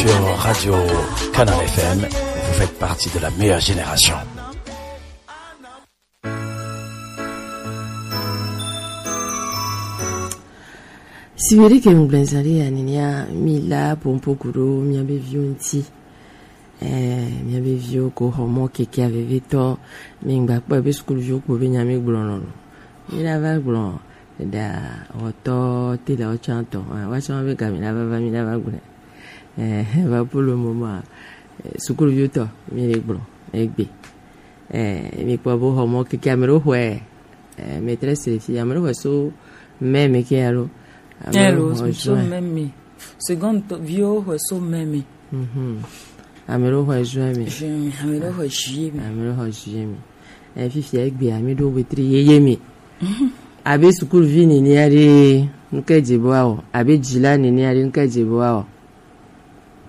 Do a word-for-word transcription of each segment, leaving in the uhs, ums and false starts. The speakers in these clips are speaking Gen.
Sur Radio Canal F M, vous faites partie de la meilleure génération. Siweri ke ŋgblẽzã ɖe ya nenia mi la pompo ku ɖo miabe viwo ŋuti. Eh, miabe viwo ko xɔ mɔ kekea vevitɔ. Mi ŋgba kpɔ be sukuluviwo kpo be nya mi gblɔ nɔ lo. Mi la va gblɔ da wɔtɔ te la wɔtsã tɔ. Ah, wɔtsã be ga mi la va va mi la va gblɔ. Eh, va pour le moment, eh, sukuluviwo tɔ mi le gblɔ egbe. Eh, mi kpɔ bo xɔ mɔ keke ame ɖewo xɔe, eh, maîtresse le fi, ame ɖewo xɔe so mai me ke alo. Ame ɖewo xɔe so mai me. Seconde tɔ, viwo xɔe so mai me. Mhm. Ame ɖewo xɔe juin me. Juin me, ame ɖewo xɔe juillet me. Ame ɖewo xɔe juillet me. Eh, fifia egbe ame ɖewo wetri yeye me. Mhm. Abe sukuluvi nenea ɖe, nuke dze be woawɔ. Abe dzila nenea ɖe, nuke dze be woawɔ.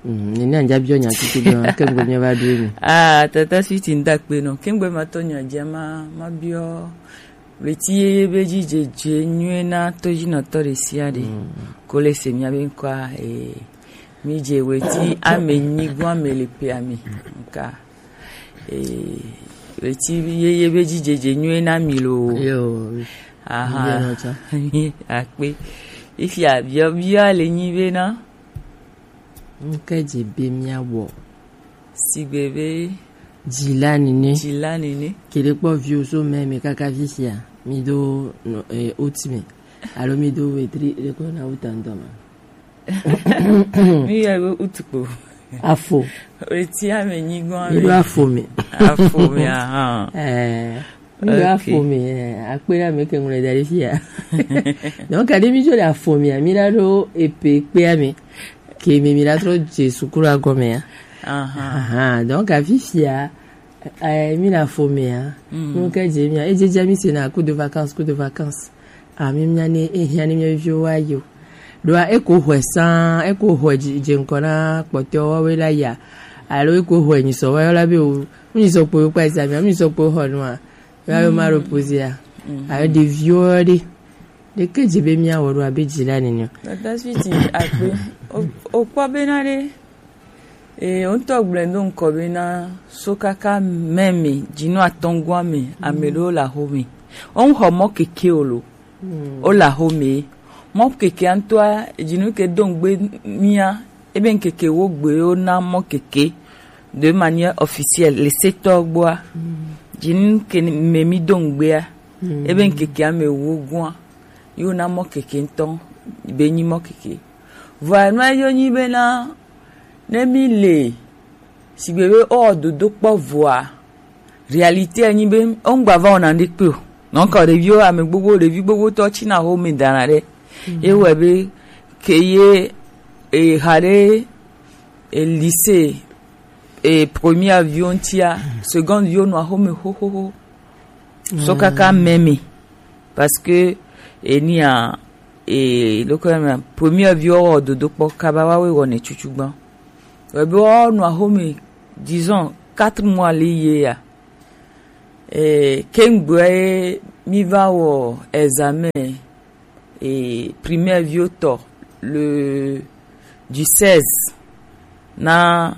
Mm, nene anja biɔ nya tutu be ke ŋgbe mia va ɖo emi. Ah, tata suiti ŋda kpe nɔ. Ke ŋgbe ma tɔ nya dza ma, ma biɔ. Weti yeye be dzi dzedze nyuie na tɔdzinɔtɔ ɖe sia ɖe. Mm. Ko le se mia be ŋkɔa, eh, mi dze weti ame nyigo ame le pe ame. Nka. Eh, weti yeye be dzi dzedze nyuie na mi lo. Yo. Aha. Mi akpe. Ifia biɔ, biɔ le nyi be na. Nuke dze be miawɔ? Sigbe be dzila nene. Dzila nene. Ke ɖe kpɔ viwo so mai me kaka fifia. Mi do no, eh, août me. Alo mi do wetri ɖe ko na août ŋutɔ ma. Mi yɔ be août kpo. Afo. Weti ame nyigo ame. Mi do afo me. Afo me, aha. Eh. Mi ɖo Ok. Afɔ me, eh, akpe ɖe ame ke ŋlɔ da ɖe fia. Donc, aɖe mi dzo le afɔ mea, mi la ɖo epe kpea me. Ke mi, mi la trɔ dze sukulu agɔmea. Aha. Aha, donc, afi fia, eh, mi le afɔ mea. Mm. Donc, edze mia, edze dze mi se na cours de vacances, cours de vacances. Ah, mi mia ne, ehia ne mia viwo wa yo. Ɖoa, eko hwe sã, eko hwe dzi, dze ŋkɔ na kpɔtɔewo woawoe la ya. Alo eko hwe nyisɔ woayɔ la be o, Ŋunyisɔkpoe kpa examen, ŋunyisɔkpoe xɔ nua, ya yo ma reposer a. Mm. Ayo ɖeviwo ɖe. Ɖeke dze be mia wɔ ɖo abe dzila nene o. Tata suiti akpe. O, o kpɔ be na ɖe. E, o ŋutɔ gblẽ do ŋkɔ be na so kaka mai me, dzinu atɔ̃ goa me, ame ɖewo le axome. O ŋxɔ mɔ keke o lo. Mm. O le axome. Mɔ keke ŋutɔa, dzinu ke do ŋgbe mia, ebe ŋkeke wo gbe yo na mɔ keke de manière officielle le setɔ gbɔa. Mm. Dzinu ke me mi do ŋgbea, mm, ebe ŋkeke ame wo gua, yo na mɔ keke ŋutɔ be nyi mɔ keke. Vɔa nua yo nyi be na ne mi le Sigbe be o dodo kpɔ vɔa, réalité enyi be o ŋgba va wɔna ŋɖekpe o. Donc ɖeviwo, ame gbogbo, ɖevi gbogbo tɔ tsina axome dana ɖe. Mhm. Ye wɔ be ke ye, e, xa ɖe, e, lycée, e, première viwo ŋutia, seconde viwo nɔ axome xoxoxo. So kaka mai me. Parce que, e, nia, e, loko ya mea, première viwo wɔ dodo kpɔ kaba wa we wɔ ne tsutsu gban. Wɔ be wɔ nɔ axome, disons, quatre mois li ye ya. E, ke ŋgbe ye mi va wɔ examen, e, primaire viwo tɔ, le, du seize na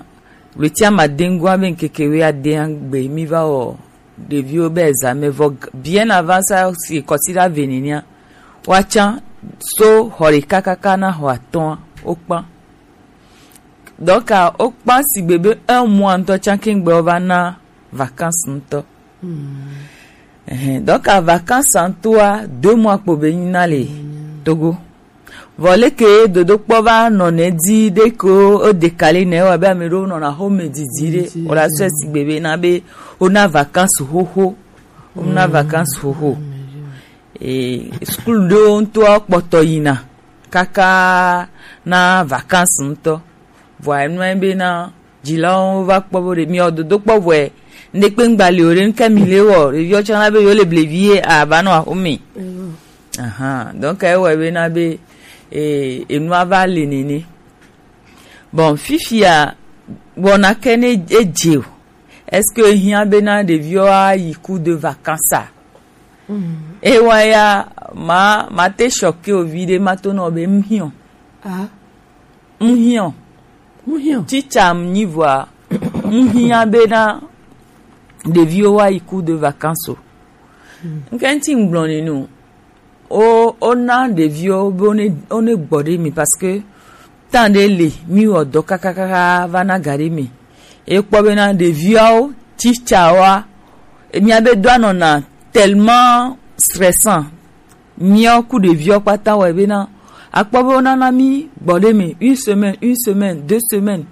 ɣleti amadɛngua be ŋkeke wuiadɛa gbe mi va wɔ ɖeviwo be examen vɔ g-, bien avant ça si kɔsiɖa ve nenia, woatsã so xɔ ɖeka kaka na xɔ atɔ̃a, wokpã. Donc, wokpã sigbe be un mois ŋutɔ tsã ke ŋgbe wova na vacances ŋutɔ. Hmm. Ɛhɛn, donc, vacances ŋutɔa, deux mois kpo be nyi na le Togo. Vɔ leke dodokpɔ va nɔ nɛ di ɖe ko o décalé nɛ wɔ be ame ɖewo nɔna axome didi ɖe. Didi, o la sɔ, mm, sigbe be na be o na vacances xoxo. O na, mm, vacances xoxo. Mm. E, sukulu ɖewo ŋutɔ kpɔtɔ yina kaka na vacances ŋutɔ. Vɔa enua be na dzilawo va kpɔ bo ɖe mi o dodo kpɔ vɔe. Ŋɖe kpe ŋgba li o ɖe ŋke mi le wɔ ɖeviwo tsã la be yewo le blevi ye a va nɔ axome. Eyo. Ahan, donc ewɔe be na be, e, enua va le nene. Bon, fifia, wɔna ke ne edze o. Est-ce que ehiã be na ɖeviwo ayi cours de vacances a? Mm. Ewa ya, ma, ma te choqué o viɖe ma to nɔ be ŋhiɔ. Ah. Ŋhiɔ. Mu hiã. Teacher mi nyi vɔa, mu hiã bena ɖeviwo wa yi cours de vacances o. Nke ŋti ŋgblɔ ni nu. O, o na ɖeviwo be wo ne, wo ne gbɔ ɖe mi parce que temps ɖe le mi wɔ dɔ kakakaka va na ga ɖe mi. E kpɔ bena ɖeviawo teacher wa, mia be do anɔna tellement stressant. Miawo ku ɖeviwo kpata wɔ bena akpɔ be wo nana mi gbɔ ɖe mi une semaine, une semaine, deux semaines.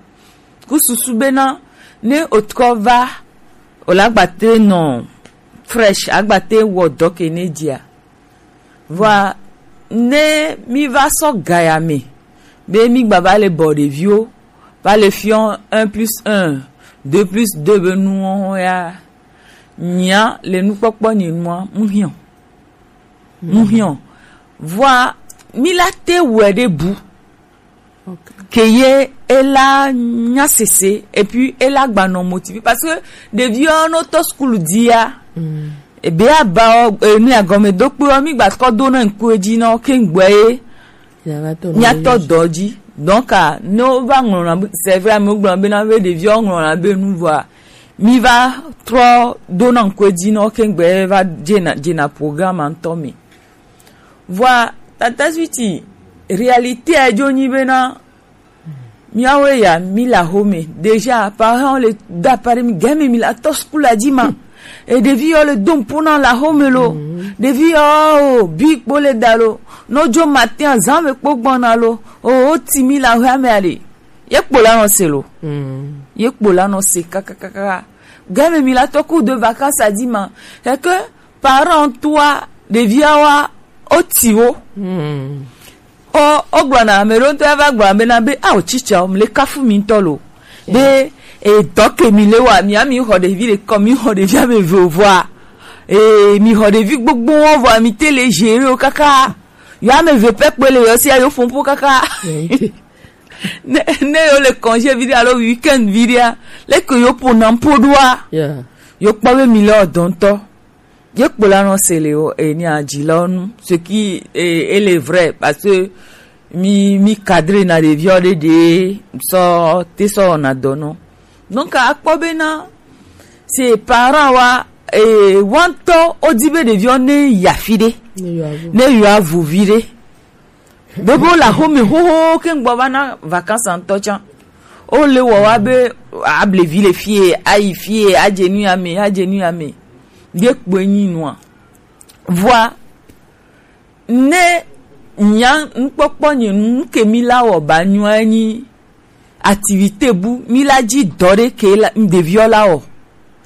Ku susu bena ne otrɔ va, o la gbate nɔ fresh, agbate wɔ dɔ ke ne dia. Vɔa ne mi va sɔ gaya me be mi gba va le bɔ ɖeviwo va le fiɔ un plus un, deux plus deux be nuwo ya, nyia le nukpɔkpɔ nye nua mu hiɔ. Mu hiɔ. Vɔa mi la te wɛ ɖe bu. Ok. Ke ye e la nya sese et puis e la gba nɔ motivé parce que ɖeviwo no to school dia. Mm. Ebe aba o, e, ni agɔme do kpe o, mi gba kɔ do na ŋku edzi na wo ke ŋgbɛ ye. Nya va tɔ nɔ mi atɔ dɔ dzi. Donc, ah, ne wo va ŋlɔna be, c'est vrai, mi gblɔ be na be ɖeviwo ŋlɔna be nu vɔa, mi va trɔ do na ŋku edzi na wo ke ŋgbɛ ye va dzena, dzena programme ŋutɔ me. Vɔa, tata suiti, réalité a dzo nyi bena, miawo ya, mi la home. Déjà, parents le da pare mi game mi la to school a dima. E ɖevi yo le dom pona la home lo. Ɖevi yo, o, bi kpo le da lo. No jo matin azan me kpo gbɔna lo. O, o ti mi la home ale. Ye kpo la no se lo. Ye kpo la no se kakakaka. Game mi la to cours de vacances a dima. C'est que parent toi, ɖevia wa, o ti wo. O, o gblɔna, ame ɖewo ŋutɔ va gblɔ be na be, ah, o tsitsa, o, mle kafu mi ŋutɔ lo. Be, e, dɔ ke mi le wa, mi ami xɔ ɖevi ɖe kɔ, mi xɔ ɖevi ame eve o vɔa. E, mi xɔ ɖevi gbogbo wo vɔa, mi te le gérer o kaka. Yo ame eve pɛ kpe le yo si a yo fɔn po kaka. Ne, ne yo le congé vi ɖe alo week-end vi ɖea, leke yo po na po ɖoa. Yeah. Yo kpɔ be mi le o dɔ ŋutɔ. Ye kpo la nɔ se le o, e, ni adzi la nu. Ce qui, e, e le vrai, parce que mi, mi cadre na ɖeviwo ɖe ɖe sɔ, te sɔ na dɔ nɔ. Donc, akpɔ be na, c'est parent wa, e, wantɔ, o di be ɖeviwo ne ya fi ɖe. Ne yo avu. Ne yo avu vi ɖe. Be be wo le axome xoxo ke ŋgbɔ va na vacances ŋutɔ tsã. Wo le wɔ wa be able vi le fie, ayi fie, adze nu ya me, adze nu ya me. Ye kpoe nyi nua. Vɔa, ne nya nukpɔkpɔ nye nu ke mi la wɔ ba nyua nyi activité bu mi la dzi dɔ ɖe ke la, ɖeviwo la wɔ.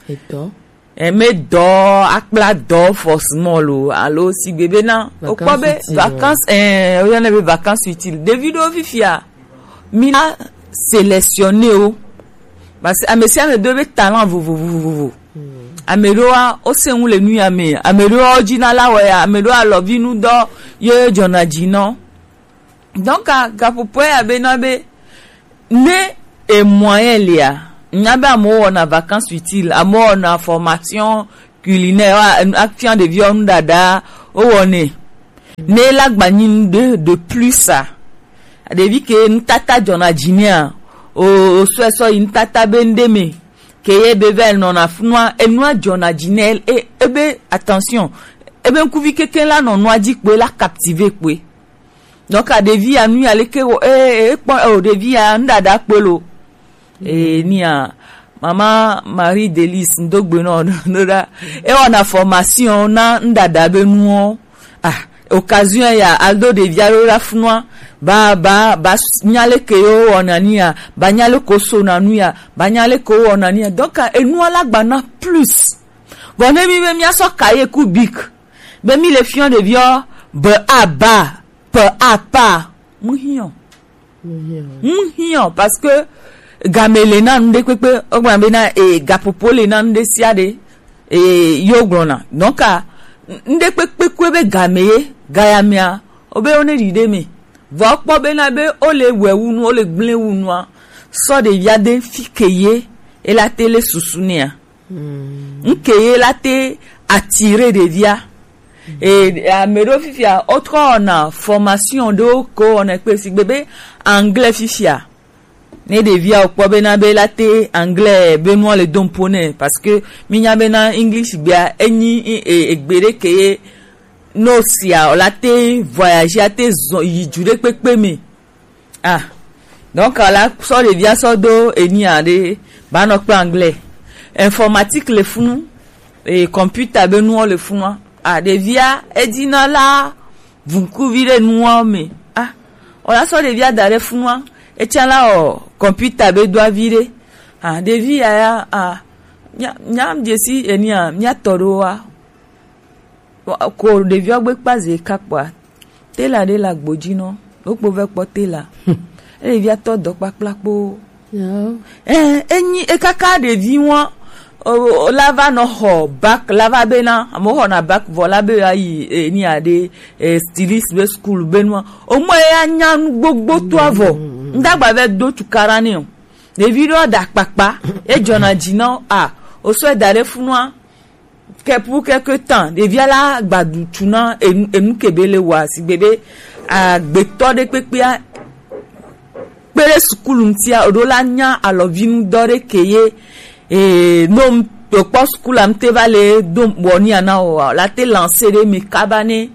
Etɔ. E, me dɔ, akpla dɔ forcément lo, alo sigbe be na, o kpɔ be vacances utile, vacances, e, o yɔnɛ be vacances utiles. Ɖevi ɖewo fifia, mi na sélectionner wo. Parce que ame sia ame do be talent vovovo. Ame ɖewoa, o se ŋu le nu ya me. Ame ɖewoa, o dzi na la wɔ ya. Ame ɖewoa, alɔvi nu dɔ ye dzɔna dzi nɔ. Donc, a, gaƒoƒoe ya be na be, ne e moyen lia, nya be amewo wɔna vacances utiles, amewo wɔna formation culinaire, wa, afia ɖeviwo nuɖaɖa, wo wɔnɛ. Ne la gba nyi nu de, de plus a, ɖevi ke nutata dzɔna dzi nɛa, o, o sɔe sɔ yi nutata be nu ɖe me, ke ye be va nɔna funua, enua dzɔna dzi nɛ, e, ebe attention, ebe ŋkuvi keke la nɔ nua dzi kpoe la captiver kpoe. Donc, a ɖevi ya nu ya leke wo, e, e, kpɔ, e, o ɖevi ya nu ɖaɖa kpe lo. E, ni a, Mama Marie Delice, ŋdo gbe nɔ, no ɖa. E wɔna formation na nu ɖaɖa be nuwo. Ah, occasion ya, aldo ɖevia ɖo ɖa funua. Ba, ba, ba, s-, nya leke yo wɔna ni ya, ba nya leke wo sona nu ya, ba nya leke wo wɔna ni ya. Donc, a, enua la gba na plus. Vɔ ne mi be mia sɔ cahier ku bic. Be mi le fiɔ ɖeviɔ, be a ba, pe a pa. Mu hiɔ. Mu hiɔ. Mu hiɔ, parce que game le na nu ɖe kpekpe, o gblɔ be na, e, gaƒoƒo le na nu ɖe sia ɖe, e, yo gblɔ na. Donc, a, nu ɖe kpekpe kpe be game ye, gaya mea, o be o ne ɖi ɖe me. Vɔ kpɔ be na be o le wɛ wu nu, o le gblẽ wu nua, sɔ ɖevia de fi ke ye, e la te le susu nea. Ŋke ye la te attirer ɖevia. E, ame ɖewo fifia, wotrɔ wɔna formation ɖewo ke wowɔna kpe sigbe be anglais fifia. Ne ɖevia wokpɔ bena be la te anglais be nua le dom po nɛ, parce que mi nya bena English gbea enyi e- e- egbe ɖe ke ye no sia o la te voyage a te zɔ yi ju ɖe kpekpe me. Ah, donc la sɔ ɖevia sɔ do enia ɖe ba nɔ kple anglais, informatique le funu, e computer be nuwo le funua. Ah, ɖevia edina la vunkuvi ɖe nuwo me. Ah, o la sɔ ɖevia da ɖe funua, etsã la o computer be do avi ɖe. Ah, ɖevi ya ya, ah, nya nya dzesi enia mia tɔ ɖo wa. Ko ɖeviwo gbe kpa ze ka kpɔa, tela ɖe le agbo dzi nɔ, wokpo vɛ kpɔ tela. Ɖevia tɔ dɔ kpakpla kpo. Ɛ, enyi ekaka ɖevi ŋua, o- o- la va nɔ xɔ bac, la va bena, amewo xɔna bac vɔ la be yewoayi, e, ni aɖe, e, styliste be school be nua. O mɔ ye anya nu gbogbo to avɔ. Ŋdagba vɛ do tukaɖa nɛ o. Ɖevi ɖewo da kpakpa, edzɔna dzi na wo, a, o sɔe da ɖe funua, ke pour quelque temps, ɖevia la gbadu tu na enu, enu ke be le wa, sigbe be, agbetɔ ɖe kpekpea, kpe ɖe sukulu ŋutia, o ɖo la nya alɔvinu dɔ ɖe ke ye, e, no m-, to kpɔ sukulu am te va le do wɔ ni ana o wa, la te lancer ɖe mi kaba ne,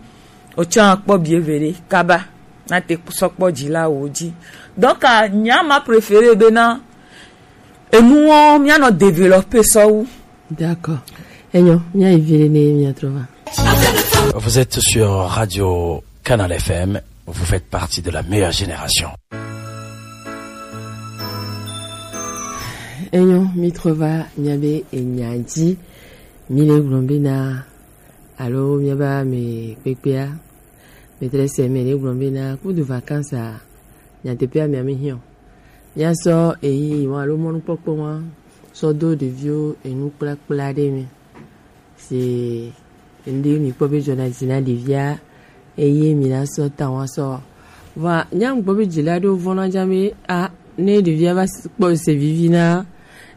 o tsã kpɔ bie ve ɖe kaba, na te sɔ kpɔ dzi la wo dzi. Donc, a, nya ma préféré be na, enuwo mia nɔ développer sɔ wu. D'accord. Enyo, mia yi vi ɖe ne mia trɔ va. Vous êtes sur Radio Canal F M, vous faites partie de la meilleure génération. Enyo, mi trɔ va mia be enya dzi, mi le gblɔ be na, alo mia ba me kpekpea, me trɛ se me le gblɔ be na, kudu vacances a, nyateƒea mia mi hiɔ. Míasɔ eyi ŋu alo mɔnukpɔkpɔ ŋu sɔ do ɖeviwo enu kplakpla ɖe me. Si ŋɖe mi kpɔ be dzɔna dzi na ɖevia, eye mi na sɔ ta ŋu asɔ. Vɔa, nya ŋu kpɔ be dzila ɖewo vɔna dza be, a, ne ɖevia va s- kpɔ se vivi na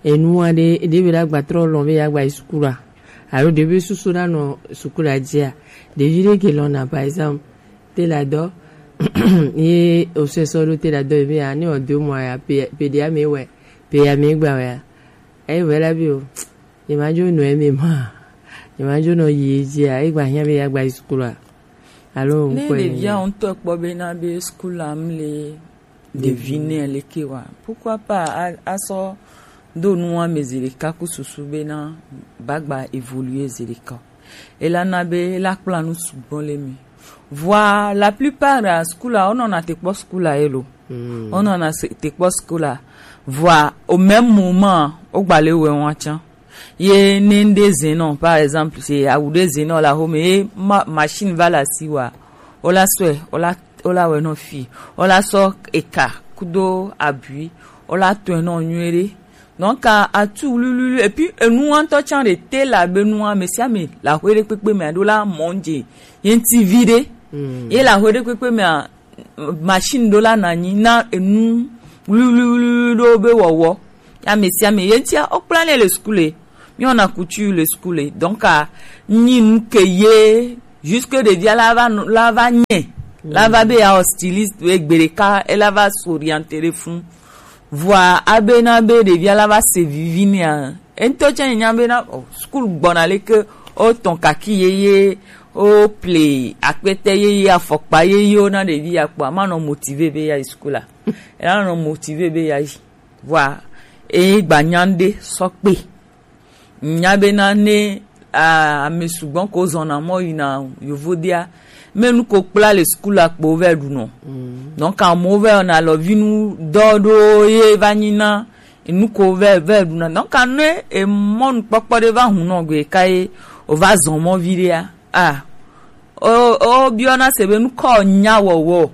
enu aɖe, ɖe be la gba trɔ lɔn be ya gba yi sukulu a, alo ɖe be susu na nɔ sukulu a dzia, ɖevi ɖe ke lɔna, par exemple, tela dɔ ye o sɛ sɔ ɖo tela dɔ be ya ne o do mɔ ya pe pe ɖe ame wɛ pe ya me gba wɛ ya. Eyi wɛ la bi o, ye ma dzo nɔ eme ma, ye ma dzo nɔ yi dzi a, egba hiã be ya gba yi sukulu a. Alo ne ŋkɔe ɖevia ŋutɔ kpɔ be na be sukulu am le ɖevi nɛ leke wa, pourquoi pas a- asɔ do nua me zi ɖeka ku susu be na ba gba évoluer zi ɖeka o. Ela na be la kpla nu sugbɔ le mi. Vɔa la plupart a sukula wonɔna te kpɔ sukula ye lo. Wonɔna se- te kpɔ sukula. Vɔa au même moment wogba le wɛ ŋua tsã. Ye ne ŋɖe zɛn nɔ, par exemple, se awu ɖe zɛn nɔ la home ye ma- machine va le asi wa, wola sɔe, wola wola wɛ nɔ fi, wola sɔ eka kudo abui, wola tɔe nɔ nyuie ɖe. Donc a- atu wluwlui, et puis enu ŋutɔ tsã ɖe te la be nua, ame sia ame le aƒe ɖe kpekpe me aɖo la mɔ dze ye ŋuti vi ɖe. Ye le aƒe ɖe kpekpe mea, machine ɖo la na anyi na enu wluwlui ɖo be wɔwɔ. Ame sia ame ye ŋutia wokpla nɛ le sukulu. Míwɔna couture le sukulu. Donc a nyi nu ke ye jusque ɖevia la va nɔ- la va nye la va be ya styliste egbe ɖeka ela va s'orienter ɖe funu. Vɔa abe na be ɖevia la va se vivi nɛa, eŋutɔ tsã nya be na, oh, sukulu gbɔna leke, o tɔn kaki yeye, o ple akpete yeye, afɔkpa yeye, o na ɖevi ya kpɔ, ama nɔ motivé be ya yi sukulu a. Ela nɔ motivé be ya yi. Vɔa e gba nya ɖe sɔ kpe. Nya be na ne, a- ame sugbɔ ko zɔna mɔ yina yovodea, me nu ko kpla le sukulu akpo vɛ ɖunɔ. Donc amewo vɛ wɔna alɔvinu dɔ ɖo ye va nyi na enu ko vɛ vɛ ɖuna. Donc ne emɔnukpɔkpɔ ɖe va hun nɔ gbe ka ye o va zɔn mɔ vi ɖea, a o o biɔna se be nukɔ nya wɔwɔ.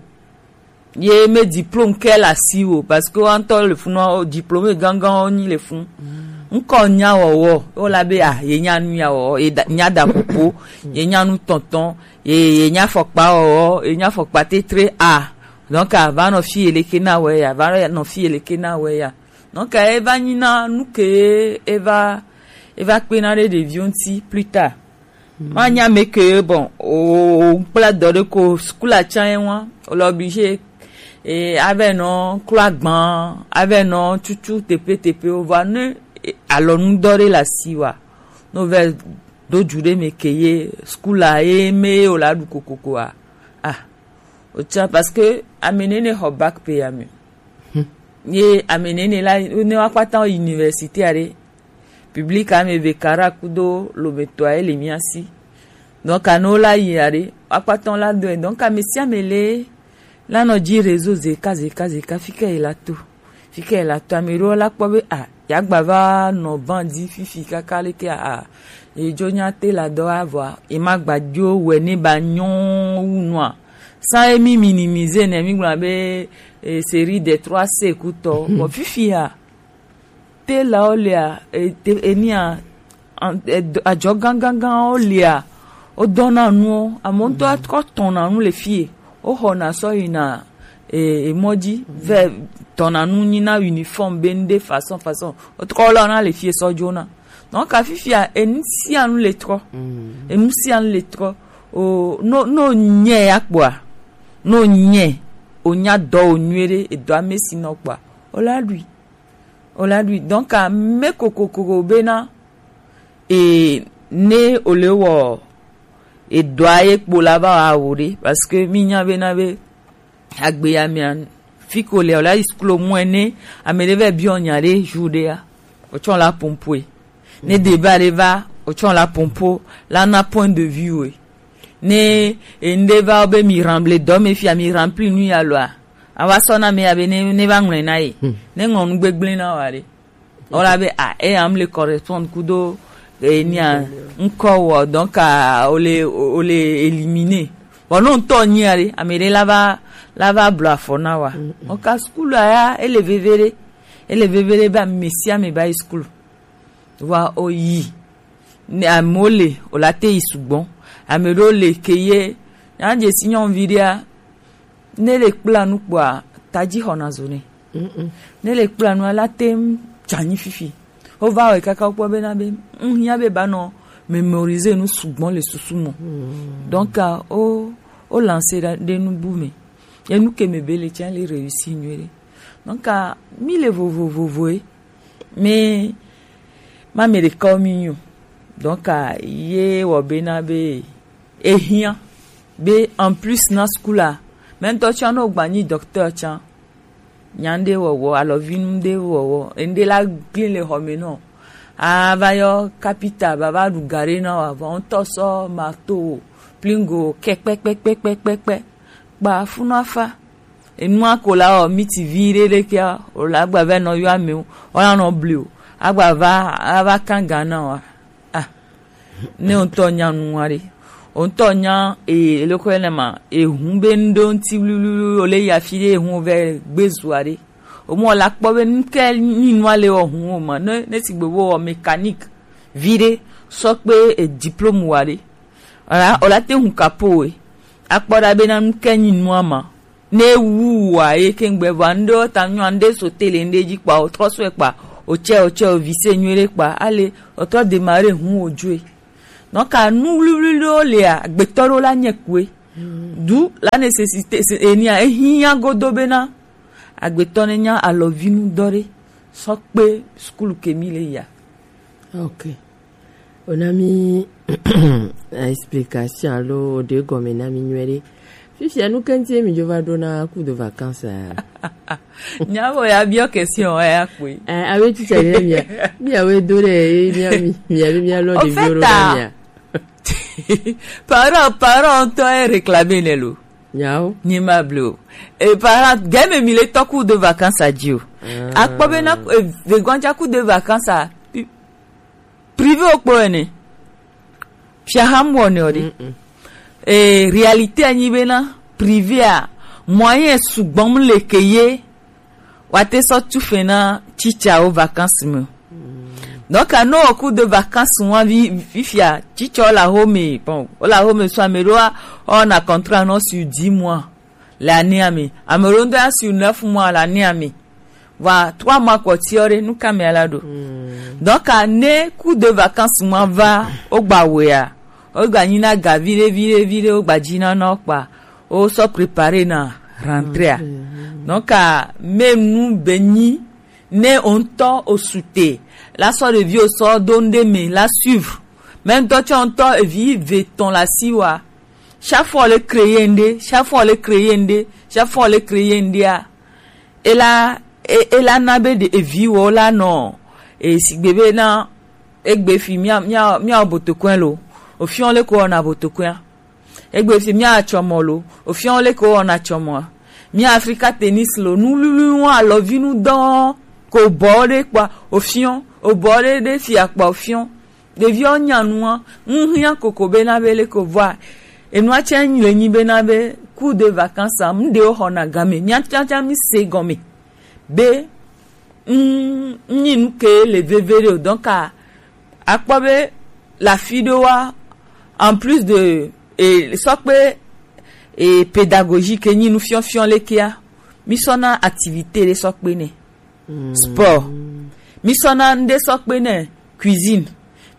Ye me diplôme ke le asi o, parce que wa ŋutɔ le funu, diplôme gangan wo nyi le funu. Ŋkɔ nya wɔwɔ, wo la be, ah, ye nya nu ya wɔwɔ, ye da- nya da popo, ye nya nu tɔntɔn, ye ye nya fɔkpa wɔwɔ, ye nya fɔkpa tetre a. Donc a va nɔ fi ye leke na wɛ ya, va nɔ fi ye leke na wɛ ya. Donc e va nyi na nu ke e va e va kpe na ɖe ɖeviwo ŋuti plus tard. Ma nya me ke bon, o- o- kpla dɔ ɖe ko sukula tsã ye wa, o le obligé E, avɛ nɔ klɔ agban, avɛ nɔ tutu tepe tepe o, vɔ ne, e, alɔnu dɔ ɖe le asi wa, no vɛ do ju ɖe me ke ye skul a ye me o la ɖu kokoko a. Ah, o tsa parce que ame nene xɔ bac pe ya me. Ye ame nene la ne wa kpata université a ɖe. Public ame ve kara kudo lometɔ a ele mia si. Donc, anu la yi aɖe, akpatɔ la dɔe. Donc, ame sia ame le la nɔ dzi réseau zeka, zeka, zeka, fi ke yi la to. Fi ke yi la to, ame ɖewo la kpɔ be, ah, ya gba va nɔ ban dzi fifi kaka leke, ah, ye dzo nya te la dɔ avɔa, ye ma gba dzo wɛ ne ba nyɔ wu nua. Sans emi minimiser ne mi gblɔ be, eh, série des trois C kutɔ. Bon, fifi ya, te la wo lia, e, te, enia, an-, e, do-, adzɔ gangangan wo lia, wo dɔna nuwo, amewo ŋutɔ akɔ tɔna nu le fie, wo xɔna sɔ yina, e, emɔ dzi, vɛ tɔna nu nyina uniforme be nu ɖe façon, façon, wo trɔ lɔ na le fie sɔ dzona. Donc, afifia, enu sia nu le trɔ. Enu sia nu le trɔ. O, no, no nyɛ ya kpɔa, no nyɛ, o nya dɔ o nyuie ɖe, edɔ ame si nɔ kpɔa, o la ɖui. O la ɖui. Donc, a, me kokokoko bena, e, ne o le wɔ, e dɔa ye kpo la va wa wo ɖe. Parce que mi nya bena be, agbe ya mia, fi ko le, o la yi sklo mu ene, ame ɖe vɛ biɔ nya ɖe jour ɖe ya. O tsɔ la pompoe. Ne débat ɖe va, o tsɔ la pompo, la na point de vue we. Ne, e, ŋɖe va be mi rempli dɔ me fia, mi rempli nu ya loa, a va sɔ na me ya be ne, ne va ŋlɔe na ye. Ne ŋlɔ nu gbegblẽ na wa ɖe. O la be, ah, e, am le correspond kudo, e, nia, ŋkɔ wɔ, donc, ah, o le, o le éliminer. Bon, no ŋutɔ nyi ya ɖe, ame ɖe la va, la va blɔ afɔ na wa. O ka skul a ya, ele veve ɖe. Ele veve ɖe be ame sia ame ba yi skul. Wa o yi. Ne amewo le, o la te yi sugbɔ. Ame ɖewo le ke ye, ya dze si nyɔnuvi ɖea, ne le kpla nu kpɔa, tadzi xɔna zo nɛ. Ne le kpla nua, la te ŋu dza anyi fifi. Wova wɔe kaka wokpɔ bena be, ŋ hiã be ba nɔ mémoriser nu sugbɔ le susu me. Donc, a, o, o lancer ɖe, ɖe nu bu me. Enu ke me be le tsã le réussir nyuie ɖe. Donc, a, mi le vovovovoe. Mi, ma me ɖeka wo mi nyo. Donc, a, ye wɔ bena be, e hiã be en plus na skul a, mɛ ŋutɔ tsã no gba nyi docteur tsã. Nya ŋɖe wɔwɔ, alɔvi ŋɖe wɔwɔ, ŋɖe la gli le xɔ me nɔ. A va yɔ kapita, va va ɖu ga ɖe na wa, vɔ ŋutɔ sɔ marteau, plingo, kɛkpɛkpɛkpɛkpɛkpɛ. Kpa funu afa. Enua ko la wɔ miti vi ɖe ɖe kia, o la gba va nɔ yɔ amewo, o la nɔ bli o, agba va, ava kan ga na wa. Ah. Ne o ŋutɔ nya nu wa ɖe. O ŋutɔ nya, e, loko ene ma, e hun be ŋɖo ŋti wliwliwli, o le ya fi ɖe e hun vɛ gbe zua ɖe. O mɔ la kpɔ be nu ke nyi nua le wɔ hun o ma. Ne, ne sigbe wo wɔ mécanique vi ɖe, sɔ kpe e diplôme wa ɖe. O la, o la te hun capot we. Akpɔ ɖa be na nu ke nyi nua ma. Ne wu wa ye ke ŋgbe vɔ ŋɖe ta nyɔ ŋɖe so tele ŋɖe dzi kpa o trɔ sɔe kpa o tsɛ o tsɛ o vise nyuie ɖe kpa ale o trɔ démarrer hun o dzoe. Donc, a nu wliwli ɖewo lia, agbetɔ ɖewo la nye kue. D'où la nécessité, c'est, enia, ehiã godo bena agbetɔ ne nya alɔvinu dɔ ɖe sɔ kpe skul ke mi le ya. Ok. O na mi explication alo o ɖe gɔme na mi nyuie ɖe. Fifia nu ke ŋuti mi dzo va ɖo na cours de vacances a? Nya bo ya biɔ question ya kpe. Eh, awe teacher ne mia. Mia we do ɖe, mia mi, mia mi, mia lɔ de biɔ ɖo na mia. Parent, parent ŋutɔ e réclamer nɛ lo. Nyawo. Nyi ma blo. E parent, game mi le tɔ cours de vacances a dzi o. Ah. Akpɔ be na, e, vegbanja cours de vacances a, pi-, privé o kpo ene. Fia ham wɔ ne o de. Mm-mm. E, réalité a nyi be na, privé a, moyen sugbɔ mu le ke ye. Wa te sɔ tu fe na teacher o vacances me. Donc, a no o cours de vacances wa vi, fifia, teacher o la home, bon, o la home so ame ɖewo wa, o na contrat no sur dix mois, l'année ame. Ame ɖewo ŋutɔ ya sur neuf mois, l'année ame. Wa trois mois kɔ ti o ɖe, nu ka me ala ɖo. Donc, a ne cours de vacances ma va, o gba wea, o gba nyi na ga vi ɖe, vi ɖe, vi ɖe, o gba dzi na na o kpa. O sɔ préparer na rentrée a. Donc, a, même nous, béni, ne on to au souté. La sort de vie au sort, donne des mains, la suivre. Même toi, tu entends et vie, veton la siwa. Chaque fois, le créer, chaque fois, le créer, chaque fois, le créer, a. Et là, et, et là, n'a be de, et vie, là, non. Et si bébé, na, egbe fi mia mia mia botokwen lo, ofiɔ le ko ɔna botokwen. Egbe fi mia tsɔmɔ lo, ofiɔ le ko ɔna tsɔmɔ. Mia Africa tennis lo, nu lulu ŋu alɔvinu dɔn ko bɔ de kpa, ofiɔ, obɔ de de fi akpa, ofiɔ. Ɖeviwo nya nua, ŋu hiã koko bena be le ko vɔa. Enua tsɛ le nyi bena be cours de vacances a, mu ɖewo xɔna game, mia tsatsa mi se gɔme. Be Mm, nyi nu ke le veve ɖe o. Donc, a, akpɔ be la fi ɖo wa, en plus de, e, sɔ kpe, e, pédagogie ke nyi nu fiɔfiɔ le kia, mi sɔna activité ɖe sɔ kpe nɛ. Sport. Mi sɔna nu ɖe sɔ kpe nɛ, cuisine.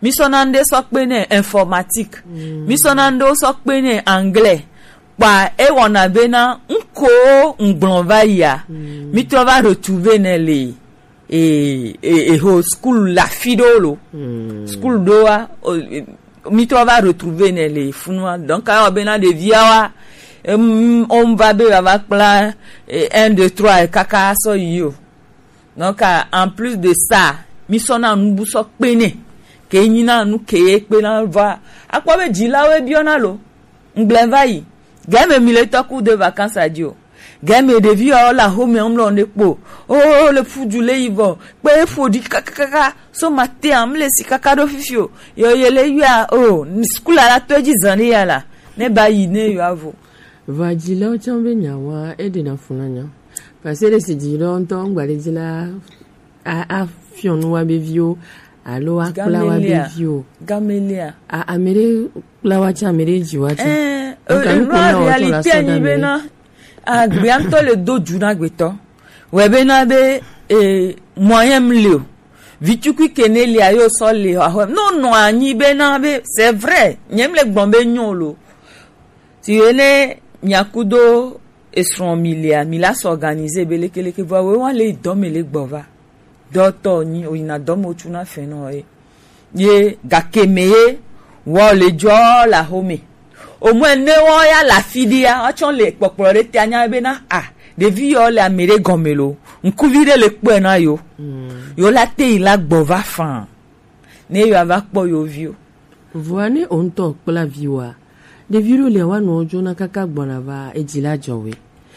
Mi sɔna nu ɖe sɔ kpe nɛ, informatique. Mi sɔna nu ɖe sɔ kpe nɛ, anglais. Kpa e wɔna bena ŋko ŋgblɔ va yia, mi trɔ va retrouver nɛ le e, e, e ho school la fi ɖo lo. School ɖo wa, o, e, mi trɔ va retrouver nɛ le funua. Donc, a wɔ bena ɖevia wa, em, on va be va va kpla, e, un, deux, trois, e kaka sɔ yi o. Donc, a, en plus de ça, mi sɔna nu bu sɔ kpe nɛ. Ke nyi na nu ke ye kpe na va. Akpɔ be dzilawo biɔna lo. Ŋgblẽ va yi. Game mi le tɔ cours de vacances a dzi o. Game ɖevi yawo le axome ŋlɔ ne kpo. Oh, le ƒu du le yi vɔ. Kpe ƒo ɖi kakakaka. So matin a, mle si kaka ɖo fifi o. Yo, ye le yua, oh, school a la to edzi zan ɖe ya la. Ne ba yi ne yo avo. Vɔ adzilawo tsã be nyawoa, eɖena fu na nya. Parce que ɖe si dzilawo ŋutɔ ŋgba ɖe dzi la, a, afiɔ nu wa be viwo, alo akpla wa be viwo. Gamelia. A, ame ɖe kpla wa tsã, ame ɖe dzi wa tsã. Eh, donc, eh, anu ko na wo tsɔ la réalité sɔ anyi ɖe ame ɖe. Bena, agbea ŋutɔ le do dzu na agbetɔ. Wɔ bena be, eh, moyen mli o. Vitukui ke ne lia yo sɔ le axɔ. Non, non, anyi bena be, c'est vrai. Nyem le gbɔn be nyo lo. Si ene miakudo esrɔ̃ mi lia, mi la s'organiser be lekeleke, vɔ we wa le dɔ me le gbɔ va. Dɔtɔ nyi, oyina dɔ me, otsu na fɛn nɔ ye. Ye gake me ye, wɔ le jɔ la home. Au moins ne wɔ ya la fi ɖia, woatsɔ le kpɔkplɔ ɖe te anya bena, a, ɖevi yɔ le ame ɖe gɔme lo. Ŋkuvi ɖe le kpɔe na yo. Yo la te yi la gbɔ va fan. Ne yo ava kpɔ yo vi o. Vɔa ne o ŋutɔ kpla viwoa, ɖevi ɖo lia wa nɔ dzona kaka gbɔna va edzi la dzɔ we.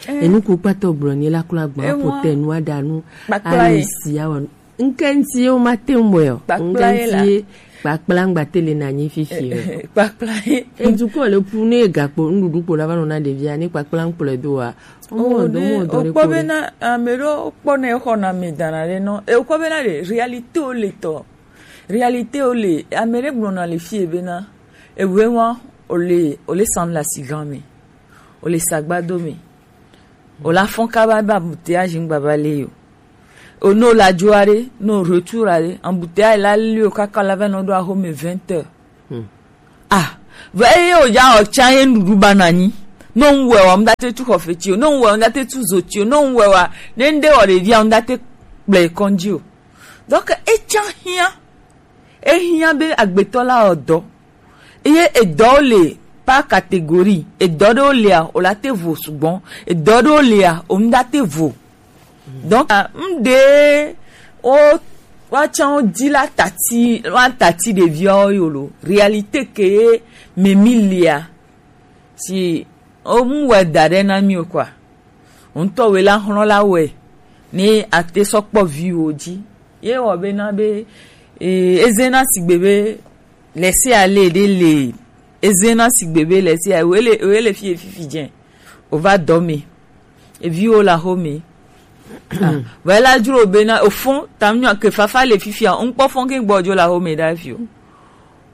Eh. Enu ku kpatɔ gblɔ ni la klo agba. Ewa. Ƒo te nu aɖa nu. Kpakpla ye. Ayi si awɔ nu. Ŋke ŋti ye wo ma te ŋu bɔe o. Kpakpla ye la. Ŋke ŋti ye kpakpla ŋgba te le na nyi fifi o. Eh, kpakpla ye. Edu ko le pu ne gakpo nuɖuɖu kpo la va nɔ na ɖevia ne kpakpla ŋkplɔe do wa. O, o mɔ dɔ, ne mɔ dɔ ɖe okpɔ kpo bena ɖe. Ame ɖewo kpɔ ne xɔ na mi dana ɖe nɔ. E okpɔ bena ɖe réalité wo le tɔ. Réalité wo le, ame ɖe gblɔna le fie bena, ewe wa, o le, o le san le asigan me, o le sagbado me, o la fɔn kaba be embouteillage ŋgba va le yo. O no la dzo aɖe, no retour aɖe, embouteillage la li o kaka la va nɔ ɖo axome vingt heures. Hmm. Ah, vɔ eye o dza o tsa ye nuɖuɖu ba na nyi. No ŋwɛ wa, ŋda te tu xɔ feti o, no ŋwɛ wa, ŋda te tu zoti o, no ŋwɛ wa, ne ŋde wɔ ɖevia, ŋda te kplɔe kɔndzi o. Donc, etsã hiã. Ehiã be agbetɔ la wɔ dɔ. Eye edɔwo le par catégorie. Edɔ ɖewo lia, o la te vo sugbɔ. Edɔ ɖewo lia, o ŋda te vo. Donc, ah, ŋɖe wo, woatsã wo di la tati, wa tati ɖeviawo yo lo. Réalité ke ye me mi lia. Si o mu wɛ da ɖe na mi o kɔa. Ŋutɔ wɛ la xlɔ̃ la wɛ. Ne ate sɔ kpɔ viwo dzi. Ye wɔ be na be, e, eze na sigbe be, lɛse ale ɖe le. Eze na sigbe be lɛse ale, wele, wele fi fifi dze. O va dɔ me. Eviwo le axome. Ah, vɔ ela dzro be na ofɔn, tam nyɔ ke fafa le fifia, ŋkpɔ fɔn ke gbɔ dzo le axome ɖa fi o.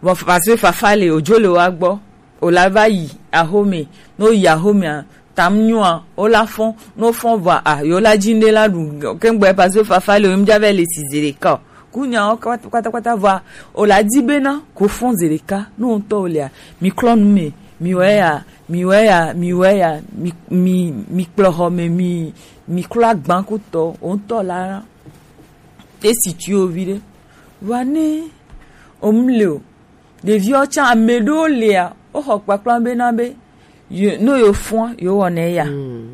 Vɔ parce que fafa le, odzo le wa gbɔ, o la va yi axome, no yi axomea, tam nyɔa, o la fɔn, no fɔn vɔ a, yo la dzi ŋɖe la ɖu, ke gbɔ parce que fafa le, o ŋdza va le si zeɖeka o. Ku nyawo kpata, kpata, kpata vɔa, o la di bena, ko fɔn zeɖeka, no ŋutɔ o lea, mi klɔ nu me, Mi wɛ ya, mi wɛ ya, mi wɛ ya, mi mi mi kplɔ xɔ me, mi mi klo agban kutɔ, o ŋutɔ la e si tui o vi ɖe. Wa ne o mu le o, ɖeviwo tsã ame ɖewo lia, wo xɔ kpakpla bena be yo, no yo fua yo wɔna eya,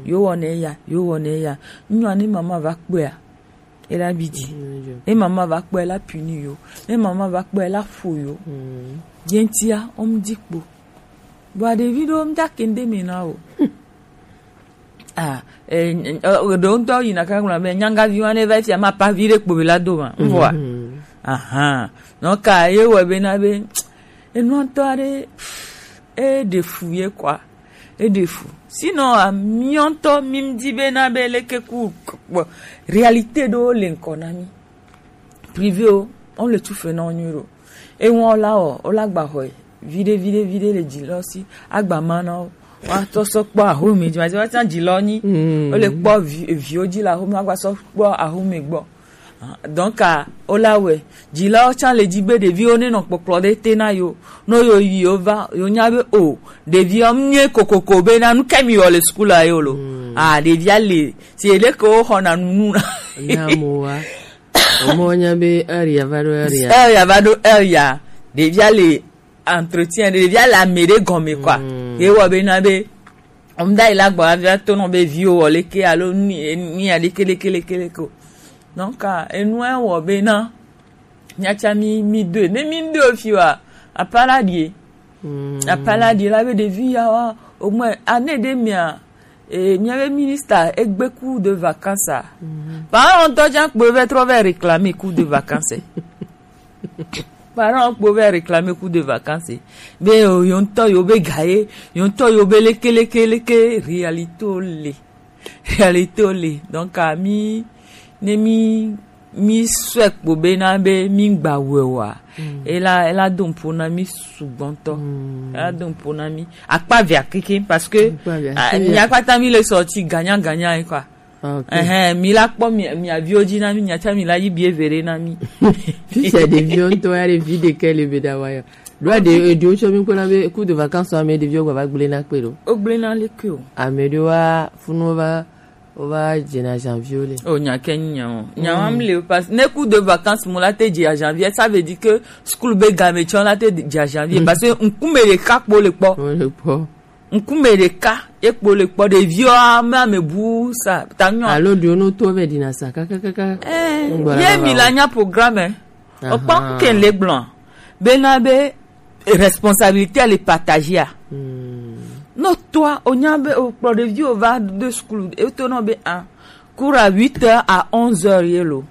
yo wɔna eya, yo wɔna eya. Nyɔa ne mama va kpɔa, e la bi di. Ne mama va kpɔa, e la puni yo. Ne mama va kpɔa, e la fo yo. Jentia o mu di kpo. Bua ɖevi ɖewo mu da kende me na o. Ah, eh, eh, ɖewo ŋutɔ yina kaka gblɔ be nyangavi wa ne va fia ma pa vi ɖe kpo be la do ma. Mvɔa. Aha. Donc ye wɔ bena be enua ŋutɔ aɖe e ɖe fu ye kɔa. E ɖe fu. Sinon, ah, miɔntɔ mi di bena be leke ku kpɔ. Réalité ɖewo le ŋkɔ na mi. Privé o, on le tout fait na wo nyuie ɖo. Ewan o la wɔ, o la gba xɔe. Viɖe, viɖe, viɖe le dzi lɔ si. Agba ma na wo. Wa tɔ sɔ kpɔ ahome dzi, ma dzi wa tsã dzi lɔ nyi. O le kpɔ vi, viwo dzi le ahome, agba sɔ kpɔ ahome gbɔ. Donc, ah, o la wɛ. Dzilawo tsã le dzi be ɖeviwo ne nɔ kpɔkplɔ ɖe te na yo. No yo yi yo va, yo nya be o, ɖeviwo nye kokoko be na nu ke mi wɔ le school a yo lo. Ah, ɖevia le, si ele ke wo xɔ na nunu na. Na mo wa. O mo nya be heure ya va ɖo heure ya. Heure ya va ɖo heure ya. Ɖevia le entretien, ɖevia le ame ɖe gɔme quoi. Ye wɔ be na be, o mu da yi la gbɔ avia to nɔ be viwo wɔ leke alo ni, ni ya leke, leke, leke, leke o. Donc, ah, enua wɔ be na, miatsã mi, mi doe. Ne mi doe o fi wa, apala die. Apala die la be ɖevi ya wa, au moins, année ɖe mia, eh, miabe ministre egbe cours de vacances a. Parent ŋutɔ tsã kpo va trɔ va réclamer cours de vacances. Parent kpo va réclamer cours de vacances. Be yo, yo ŋutɔ yo be ga ye, yo ŋutɔ yo be leke, leke, leke, réalité o le. Réalité o le. Donc, ah, mi, ne mi, mi sɔe kpo bena be mi gba wɛ wa. E la, e la do ŋpo na mi sugbɔntɔ. E la do ŋpo na mi. Akpa via keke, parce que, ah, mi akpata mi le sorti gagnant, gagnant, hein, quoi. Ah, ok. Ehɛn, mi la kpɔ mi, mi aviwo dzi na mi, nya tsã mi la yi bie vere na mi. Fifia ɖeviwo ŋutɔ ya ɖe vi ɖekɛ le be ɖa wa ya. Ɖoa ɖe, eɖewo tsɔ mi kpɔna be cours de vacances ame ɖeviwo gba va gblẽ na kpe ɖo. O gblẽ na le ke o. Ame ɖewo wa funu va, o va dze na janvier le. O nya ke nya o. Nya wa mi le parce ne cours de vacances mo la te dze a janvier, ça veut dire que school be game tsɔ la te dze a janvier parce que ŋkume ɖeka kpo le kpɔ. O le kpɔ. Ŋkume ɖeka ye kpo le kpɔ ɖeviwo ame ame bu sa ta nyɔ. Alo ɖewo no to ve dina sa kakakaka. Eh, ye mi la nya programme. Okpɔ ke le gblɔ. Bena be responsabilité le partager. No toi o nya be o kpɔ ɖeviwo va de school e to no be a cours à huit heures à onze heures ye lo.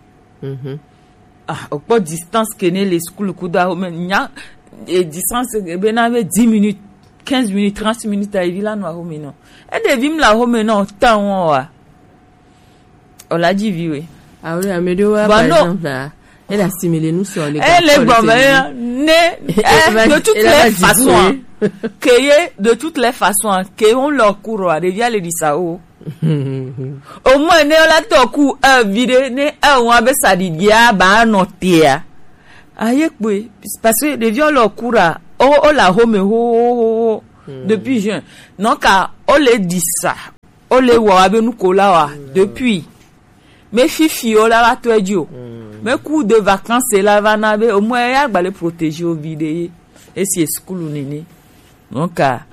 Ah, okpɔ distance ke ne le school kudo ahome nya, e distance ke be na be dix minutes, quinze minutes, trente minutes a evi la nɔ ahome nɔ. E ɖevi mi le ahome nɔ tan wa. O la dzi vi we. Ah oui, ame ɖewo wa, par exemple, ah, elle assimile nous sur les. Elle est bonne, ne, eh, de toutes les façons, hein, que ye, de toutes les façons, hein, que on leur court, ɖevia le di sa o. Au moins ne la tɔ ku e vi ɖe ne e wa be sa ɖiɖia ba nɔ tea. Aye kpe, parce que ɖeviwo le cours a, o, o le ahome ho, ho, ho, ho. Depuis juin. Donc, ah, o le di sa, o le wɔ abe nu ko la wa, depuis. Mais fifi o la va tɔ edzi o. Mais cours de vacances la va na be, au moins, ya gba le protéger o vi ɖe ye. Esi school nene. Donc, ah,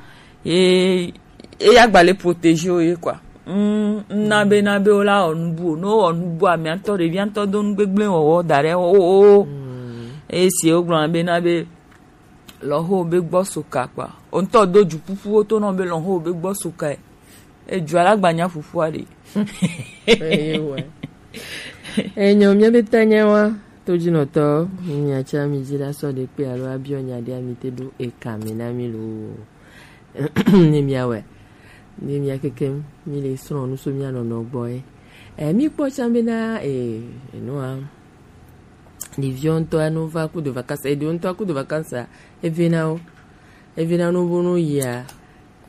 e, e ya gba le protéger o ye quoi. Mm, na be, na be o la wɔ nubu o. No wɔ nubu a, mi atɔ ɖevi atɔ do nu gbegblẽ wɔwɔ da ɖe o, o, o. Esi o gblɔ be na be lɔho be gbɔ soka kpa. O ŋutɔ do dzu ƒuƒu wo to nɔ be lɔho be gbɔ soka. E dzu ala gbanya ƒuƒu a ɖe. Eye wɔ. Enyo, mia be ta nya wa, to dzi nɔ tɔ, nya tsa mi dzi la sɔ de kpe alo abiɔ nya ɖe mi te ɖo eka me na mi lo. Ne mia wɛ. Ne mia keke mi le srɔ̃ nu so mia nɔnɔ gbɔ ye. E mi kpɔ tsa be na e, enua. Ɖeviwo ŋutɔ no va cours de vacances, eɖewo ŋutɔ cours de vacances, eve na wo. Eve na no bo no yia,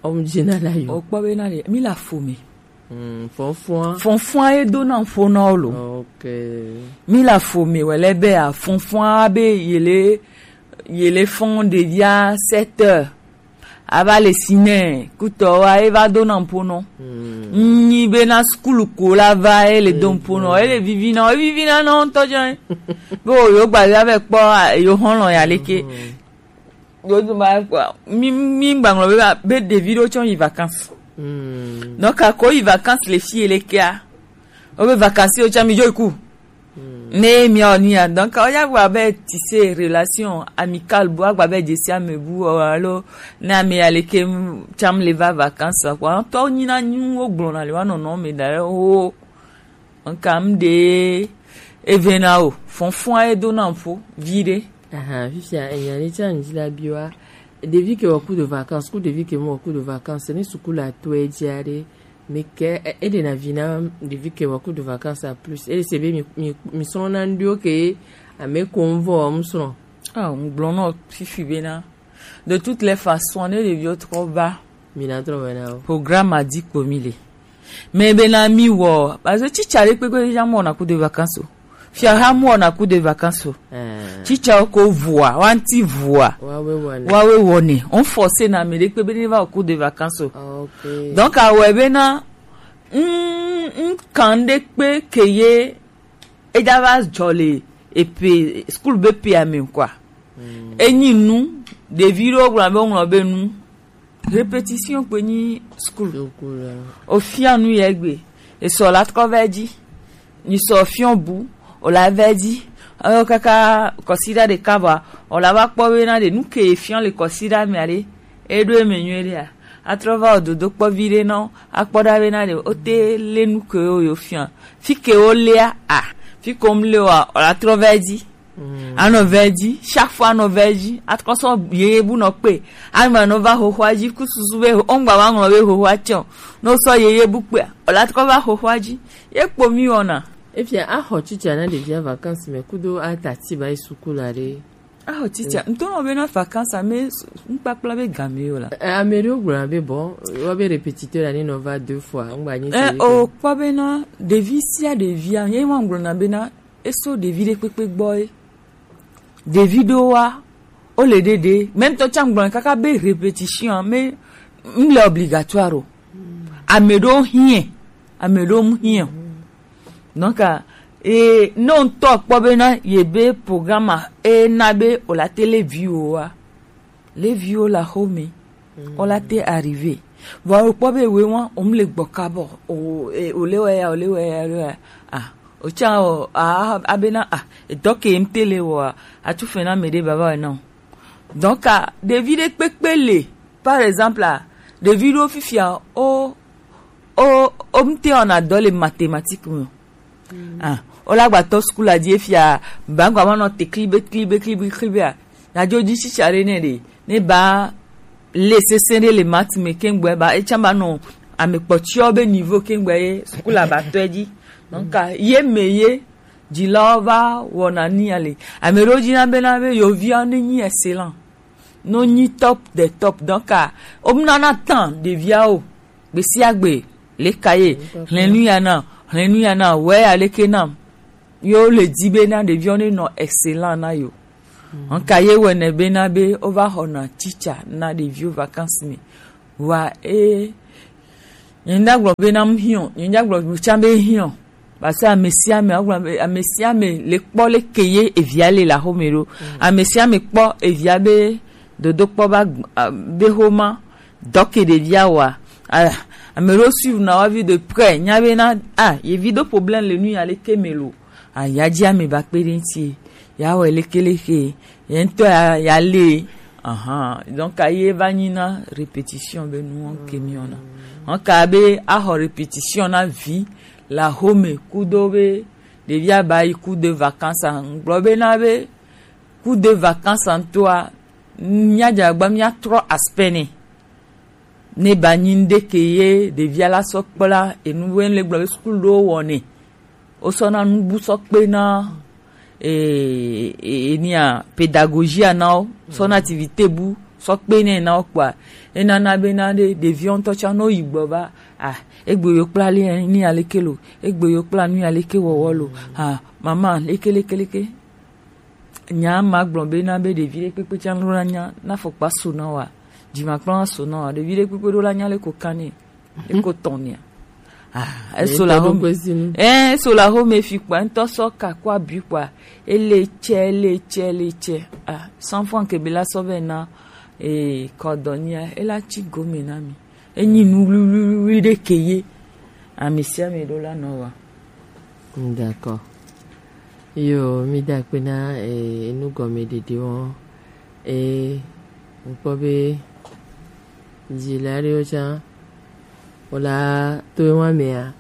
ɔmu dzi na la yo. O kpɔ be na le, mi la fo mi. Hmm, fɔnfɔn. Fɔnfɔn e do na fo na wo lo. Ok. Mi la fo mi wele be a fɔnfɔn a be yele, yele fɔn ɖevia sept heures. Ava le si nɛ kutɔ wa eva do na ŋpo nɔ. Nyi be na skul ko la va ele do ŋpo nɔ ele vivi na evivi na nɔ ŋutɔ jɛ. Be o yo gba ya be kpɔ yo hɔn lɔ ya leke. Yo du ma kpɔ mi mi gba ŋlɔ be ba be ɖevi ɖo tsɔ yi vacances. Donc a ko yi vacances le fi ele kea. O be vacances yo tsɔ mi jo iku. Ne miawo ni ya donc o ya gba be tise relation amicale bu agba be jesi ame bu o alo ne ame ya leke tsam le va vacances quoi tɔ nyi na nyu wo gblɔ na le wa nɔnɔ me da o nka m de evena o fɔnfɔn a edo na mfo vi de. Aha, fifia enya ne tsam ji la biwa. Devi ke wa ku de vacances ku devi ke mo ku de vacances ni sukula to e jare. Mi ke e- e de na vi na ɖevi ke wa ku de vacances a plus e se be mi mi mi srɔ̃ na ndio ke ame ko mvɔ mi srɔ̃. Ah, ŋgblɔ nɔ fifi be na de toutes les façons ne ɖeviwo trɔ va. Mi na trɔ va na o. Programme a di ko mi le. Mais be na mi wɔ parce que tsitsa ɖe kpekpe ya mɔ na ku de vacances o. Fia ha mu wɔna ku de vacances o. Tsitsawo ko vua wanti vua wawe wɔne. Wɔne on force na ame ɖe kpe be ne va ku de vacances o. Donc awɔe be na n kan ɖe kpe ke ye eja va dzɔ le epe skul be pe ame quoi. Enyi nu ɖevi ɖewo gblɔ be woŋlɔ be nu. Répétition kpe nyi school. Ofia nu yɛ gbe. Esɔ la trɔ vɛ dzi. Ni sɔ fiɔ bu o la vɛ dzi. Ayo kaka kɔsiɖa ɖeka vɔa o la va kpɔ be na ɖe nu ke fiɔ le kɔsiɖa mea ɖe e ɖo eme nyuie ɖea atrɔ va o dodo kpɔ vi ɖe nɔ akpɔ ɖa be na ɖe o te le nu ke o yo fiɔ fi ke o lea a fi ko m le wa o la trɔ vɛ dzi. Anɔ vɛ dzi chaque fois anɔ vɛ dzi atrɔ sɔ yeye bu nɔ kpe. Anɔ anɔ va xoxoa dzi ku susu be ongba wa ŋlɔ be xoxoa tiɔ no sɔ yeye bu kpe o la trɔ va xoxoa dzi ye kpo mi wɔna. Efia axɔ tsitsa na ɖevia vacances me kudo atati ba yi suku la ɖe. Axɔ tsitsa ŋutɔ nɔ be na vacances ame ŋkpakpla be game yo la. Ame ɖewo gblɔna be bɔ wa be répétiteur la ne nɔ va deux fois ŋgba nyi. O kpɔ be na ɖevi sia ɖevia ye wa gblɔna be na eso ɖevi ɖe kpekpe gbɔ ye ɖevi ɖo wa o le ɖeɖe même tɔ tsa gblɔ kaka be répétition me m le obligatoire o ame ɖo hiɛ ame ɖo m hiɛ o donc e ne ŋutɔ kpɔ be na ye be programme e na be o la te le vi o wa le vi o la xo me o la te arrivé. Vɔ o kpɔ be we wa o m le gbɔ kabɔ o e o le wɛ ya o le wɛ ya o le wɛ ya ah o tsa o a a be na ah edɔ ke m te le wɔ a atu fɛ na me ɖe baba wɛ na o donc a ɖevi ɖe kpekpe le par exemple a ɖevi ɖo fifia o o o m te wɔna dɔ le mathématique me o ah o la gba tɔ school a dzi efia ba gba ma nɔ te klibe klibe klibe klibe a na dzo dzi tsitsa ɖe nɛ ɖe ne ba le sese ɖe le maths me kengbe ba etsa ba nɔ ame kpɔtsiɔ be niveau kengbe ye school a ba tɔe dzi donc a ye me ye dzilawo va wɔna ni ale ame ɖewo dzi na be na be yovia ne nyi excellent no nyi top de top donc a o m nana tan ɖevia o gbe sia gbe le ka ye hlɛnu ya na hlɛnu ya na wɛ ya leke na yo le di be na ɖeviɔ ne nɔ excellent na yo nka ye wɛ ne be na be o va xɔ na tsitsa na ɖevio vacances me wa e nye ŋda gblɔ be na m hiɔ nye ŋda gblɔ tsa be hiɔ Parce que ame sia ame, agblɔ be ame sia ame le kpɔ leke ye evia le le axome ɖo. Ame sia ame kpɔ evia be dodokpɔ ba gb-, a, be xoma dɔ ke ɖevia wa. A, ame ɖewo suivre na wa vie de près, nya be na, a, ye vi ɖo problème le nu ya leke me lo. A, ya dzi ame ba kpe ɖe ŋuti. Ya wɔ leke leke. Ye ŋutɔ ya, ya le. Ahan. Donc, a ye va nyi na répétition be nu ke mi wɔna. Donc, a be axɔ répétition na vi le axome kudo be ɖevia ba yi cours de vacances a, ŋgblɔ be na be cours de vacances a ŋutɔa, mía dze agba mía trɔ aspect nɛ. Ne ba nyi ŋɖe ke ye ɖevia la sɔ kpla enu be le gblɔ be sukulu ɖewo wɔnɛ. Wo sɔ na nubu sɔ kpe na, e, e, enia pédagogie a na wo, sɔ na activité bu sɔ kpe nɛ na wo kpoa, e nana be na ɖe ɖeviwo ŋutɔ tsã ne wo yi gbɔ va, ah, egbe yo kpla li ni aleke lo, egbe yo kpla nu aleke wɔwɔ lo, ah, mama leke leke leke. Nya ma gblɔ be na be ɖevi ɖe kpekpe tsã lo na nya na fɔkpa so na wa. Dzimakplɔ na so na wa ɖevi ɖe kpekpe ɖo la nya le ko kan ne e ko tɔn nia. Ah, e so la home. Eh, so la home fi kpa ŋutɔ sɔ ka kɔ abi kpa. Ele tsɛ, ele tsɛ, ele tsɛ. Ah, cent francs ke be la sɔ vɛ na, eh, kɔdɔ nia, e la tsi gome na mi. Enyi nu wluwluwlui ɖe ke ye. Ami sia mi ɖo la nɔ wa. D'accord. Yo, mi da akpe na, eh, enu gɔme ɖeɖe wɔn. Eh, ŋkpɔ be dzila ɖewo tsã, wo la to ewa mea,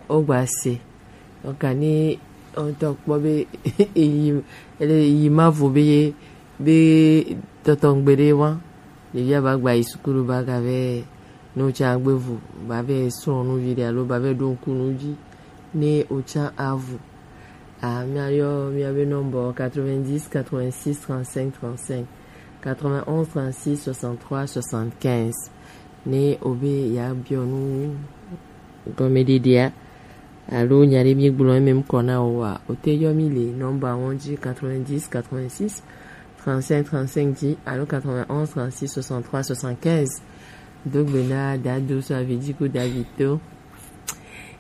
wo gba se. Ɔka ni ɔtɔ kpɔ be eyi, ele yi ma vo be ye, be tɔtɔ ŋgbe ɖe wa. Ɖevia ba gba yi sukulu ba ga vɛ, no tsa gbe vo, ba vɛ srɔ̃ nu vi ɖe alo ba vɛ ɖo ŋku nu dzi, ne o tsa avu. Ah, mia yɔ mia be nɔmbɔ quatre-vingt-dix quatre-vingt-six trente-cinq trente-cinq, quatre-vingt-onze trente-six soixante-trois soixante-quinze. Ne o be ya biɔ nu gɔme ɖeɖea, alo nya ɖe mi gblɔ eme ŋkɔ na o wa, o te yɔ mi le nɔmba wɔn dzi quatre-vingt-dix quatre-vingt-six trente-cinq trente-cinq dzi alo quatre-vingt-onze trente-six soixante-trois soixante-quinze. Do gbe na Dado so avi dzi ko David to.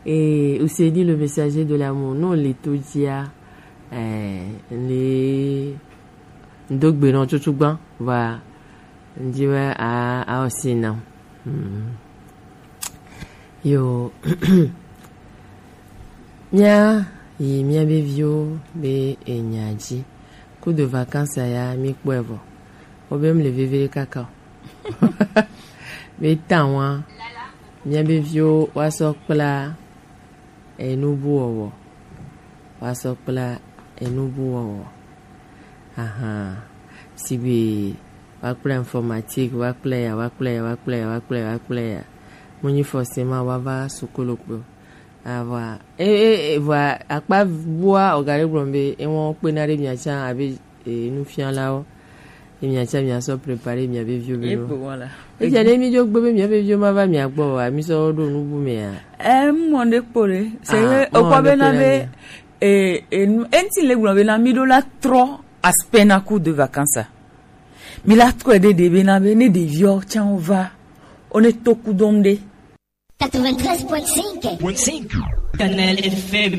Et Ouseni le messager de l'amour, non, le to dzia, eh, le ŋdo gbe nɔ tutu gbã, vɔa ŋdi wɛ a a o si na. Hmm. Yo. Mía yi mía be viwo be enya dzi. Coup de vacances ya mi kpɔe vɔ. Wo be mle veve ɖe kaka o. Be ta wa mía be viwo wa sɔ kpla enu bu wɔwɔ. Wa sɔ kpla enu bu wɔwɔ. Ahan. Sigbe wa kpla informatique, wa kpla ya, wa kpla ya, wa kpla ya, wa kpla ya, wa kpla ya. Mo nyi forcément wa va sukulu kpo. Avɔa, e, e, e, vɔa akpa bua ɔga ɖe gblɔm be ewɔn kpena ɖe mia tsã abe, e, nufialawo. Ye mia tsã mia sɔ préparer mia be viwo be no. Egbɔ wala. Etia ɖe mi dzo gbe be mia be viwo ma va mia gbɔ o, mi sɔ ɖo nubu mea. E, mɔ ɖe kpo ɖe. C'est que ekpɔ be na be, e, e, nu, enti le gblɔ be na mi ɖo la trɔ aspect na coup de vacances. Mi la trɔ ɖe ɖe be na be ne ɖeviwo tsã va, o ne to kudɔm ɖe. Quatre-vingt-treize point cinq. Kanal F M.